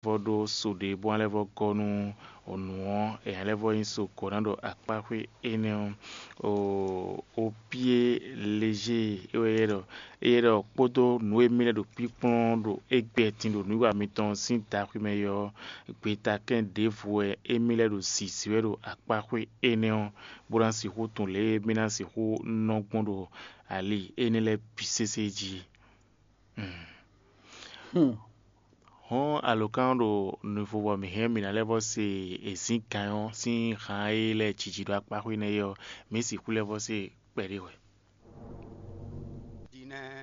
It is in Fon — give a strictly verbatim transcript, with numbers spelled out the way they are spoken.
vɔ ɖó so ɖě bó ná lɛ́ vɔ gɔ́ nú nǔ ɔ́, è nǎ lɛ́ vɔ nyí so gɔ̌ ná ɖo akpáxwé énɛ́ ɔ́. O pied léger é wɛ é ɖɔ, é ɖɔ kpódó nǔ e mì lɛ́ ɖo kpíkplɔ́n ɖo égbɛ́ din ɖo nǔwiwa mitɔn sín daxwé mɛ é ɔ́, gbetakɛ́n ɖěvo wɛ émí lɛ́ ɖo zǐzí wɛ ɖo akpáxwé énɛ́ ɔ́, bó ná sixú tunwun lě e mì ná sixú nɔ gbɔn ɖo ali énɛ́ lɛ́ɛ bǐ sésé jí. Hɔn alǒkan ɖo nuvo bɔ mǐ hɛn mǐ ná lɛ́ vɔ se èzíngán ɔ́ sín han e lɛ́ jiji ɖo akpáxwé nɛ́ é ɔ́, mǐ sixú lɛ́ vɔ se kpɛɖé wɛ.